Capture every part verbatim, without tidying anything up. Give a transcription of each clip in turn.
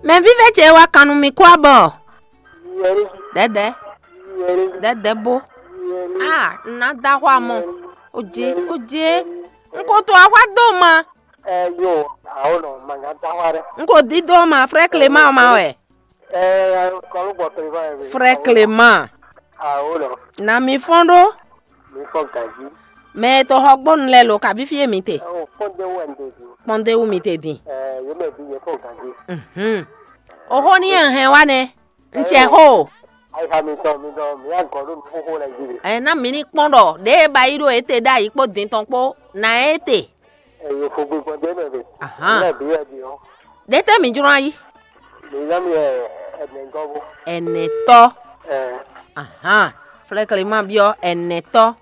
Mɛ vívɛ́ ce wá kan nú mi kú abɔ. Dɛdɛ, dɛdɛ bó. Ah, nna da xɔ amɔ. Oje, oje. N ko to axwa do ma. Ɛ yo, awo nɔ, ma nya da xwa ɖe. N ko di do ma, frɛ Clément ma wɛ. Ɛ kɔlu gbɔ Clément wɛ. Frɛ Clément. Awo nɔ. Na mi fɔn ɖó. Mi fɔ ganji. Mɛ e to xɔ gbɔnu lɛ lo kabi fie mi te. Ɛ o kpɔnde wɛ n te di. Kpɔnde wu mi te di. Ɛ yo mɛ bi yɛ fɔ ganji. Mhm. Oxo ni yɛ hɛn wa nɛ. N cɛ xo. Ayixa mitɔn mitɔn mi yá gɔn ɖo nukúnxó lɛ jí de. Ɛ na mi ní kpɔn ɖɔ ɖe e ba yi ɖo ete ɖ'ayǐ kpó din tɔn kpó na ete. Ɛ yo fo gbígbɔn dé mɛ de. Ahan. Lɛ bi yɛ di o. Ɖe tɛ mi jlɔ́n ayi. Mi yá mi ɛ ɛnɛ gɔn bó. Ɛnɛtɔ. Ɛ. Ahan. Flɛkɛlima biɔ ɛnɛtɔ.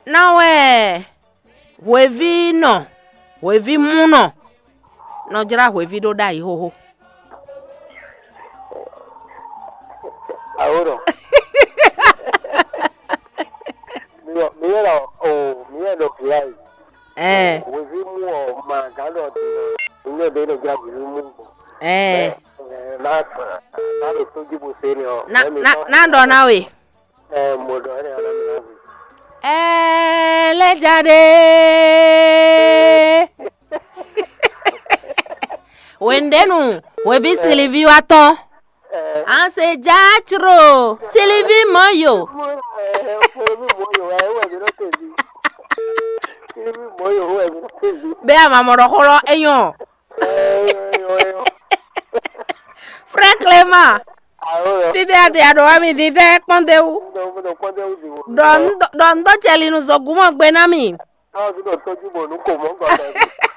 Na wɛ hweví nɔ, hweví mú nɔ, nɔ jlá hweví ɖó ɖ'ayǐ xóxó. Awo nɔ. Mi yɛ mi yɛ nɔ o mi yɛ nɔ vila yi. Ɛ. Hweví mú ɔ ma gán nɔ di nɔ. Mi yɛ bɛ nɔ jlá hweví mú gbɔ. Ɛ. Ɛ na na ɖo tó jí bo se ni ɔ. Na na na ɖɔ na we. Ɛ mo ɖɔ ɛnɛ ɔlɔ mi na vi. Ɛ lɛ ja ɖe. Wendenu, hweví Sylvie wa tɔn. Ɛ An se ja cro, Sylvie mɔ yo. Mo ɛ mo mi mo yo ɛ wɛ mi nɔ te vi. Mi mo yo wɛ mi nɔ te vi. Bɛ a ma mɔ ɖɔ xó lɔ enyɔ. Ɛ yo yo yo. Frère Clément. Awo yo. Fidɛ a de a ɖo wa mi di tɛ kpɔn de wu. Ndo mo do kpɔn de wu di wo. Ɖɔ n ɖɔ n ɖɔ cɛlinu zɔgumɔ gbe na mi. Awo mi do tɔjú mo nu ko mɔ gɔdɔ.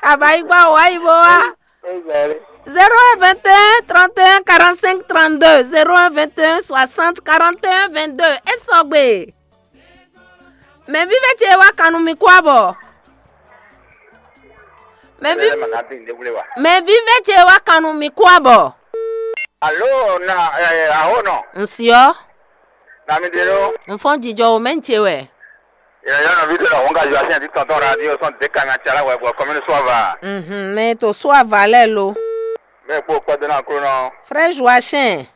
Abayi gba wa yi bo wa. Ɛ gɛrɛ. Zéro un vingt et un trente et un quarante-cinq trente-deux, zéro un vingt et un soixante quarante et un vingt-deux. E sɔgbe. Mɛ vívɛ ce wá kanu mi kú abɔ. Mɛ vi Ɛ ma na bi ne wule wa. Mɛ vívɛ ce wá kanu mi kú abɔ. Alo na ɛ aho nɔ. Nsiɔ. Na mi de lo. Nfɔn jijɔ o mɛ ce wɛ. Yɛ yɛ nɔ vi de la wɔn ka jɔ asi ati tɔntɔn radio sɔn de ka ŋa tsala wɛ bɔ kɔmini sɔ va. Mhm, mɛ to sɔ ava lɛ lo. Mɛ kpo kpɛdɛ na klo nɔ. Frère Joachim.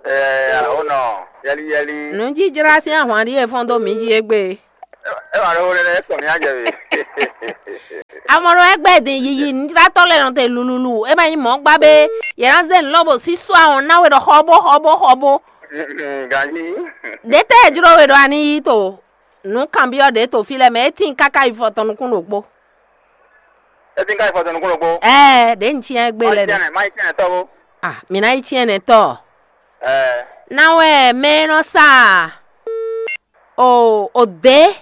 Ɛɛ o nɔ yɛli yɛli. Nǔjijlá sín ahwan ɖíe fɔ́n dó mǐ jí égbé. E wà ló wlé lé kɔn mí á jɛ we. Amɔnɔ ɛgbɛ din yiyi nǔjlátɔ́ lɛ́ɛ nɔ te lululu. É ma nyí mɔ̌ gbá bé. Yě ná zé nǔ lɔ bɔ sísú ahɔn ná we ɖɔ xɔbó xɔbó xɔbó. Ganji. Ɖě tɛ́ e jló we ɖɔ a ní yí to nǔ kanbyɔ́ ɖě to fí lɛ́ɛ mɛ é tíin káká yi fɔ tɔn nukún ɖokpó. É tíin káká yi fɔ tɔn nukún ɖokpó. Ɛɛ ɖě un cyɛ́n égbé lɛ́ɛ ɖe. Má yi cyɛ́n tɔ́ bó. Ah, mǐ ná yi cyɛ́n nɛtɔ́. Ɛɛ. Ná wɛ mɛ e nɔ sa o o dě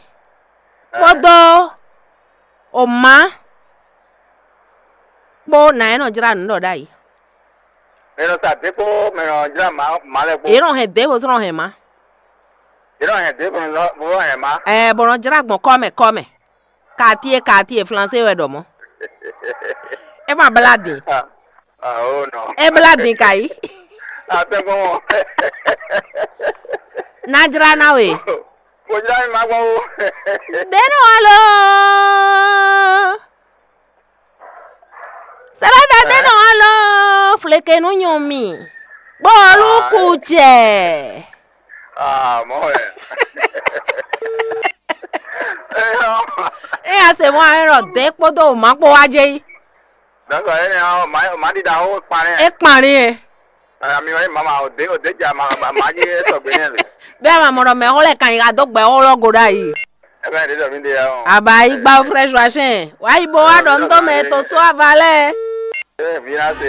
kpódó o má kpó nǎ é nɔ jlá nǔ ɖɔ ɖ'ayǐ. Mɛ nɔ sa dě kpó mɛ nɔ jlá má má lɛ kpó. Yě nɔ hɛn dě bó zɔ́n nɔ hɛn má. Yě nɔ hɛn dě bó nɔ bó nɔ hɛn má. Ɛɛ bó nɔ jlá gbɔn kɔ́ mɛ kɔ́ mɛ. Quartier quartier flansé wɛ ɖɔ mɔ̌. É ma blá din. Aho nɔ. É blá din ka yí. Atɛgbɔn. Ná jlá ná we. Mo jlá mi ma gbɔn o. Dé nɔ wá lɔ. Sɛlɛda dé nɔ wá lɔ. Fleke nu nyɔ mi. Bɔlu ku jɛ. Ah, mɔ wɛ. Eyɔ. Eya se mɔ ayɔ dé kpódó o ma kpó wá jɛ yí. Dɔkɔ ene ɔ ma ma ɖi da o kpanɛ. E kpanɛ. Ami wɛ mama o de o de ja ma ma ma ji e sɔgbe ne le. Bɛ ma mɔ dɔ mɛ xɔ lɛ kan yi ka dó gbɛ xɔ lɔ go ɖ'ayi. Ebe ɖe dɔ mi de ya o. Aba yi gba frɛ Joachim. Wa yi bo wa dɔ ŋdɔ mɛ to so ava lɛ. E vi na se.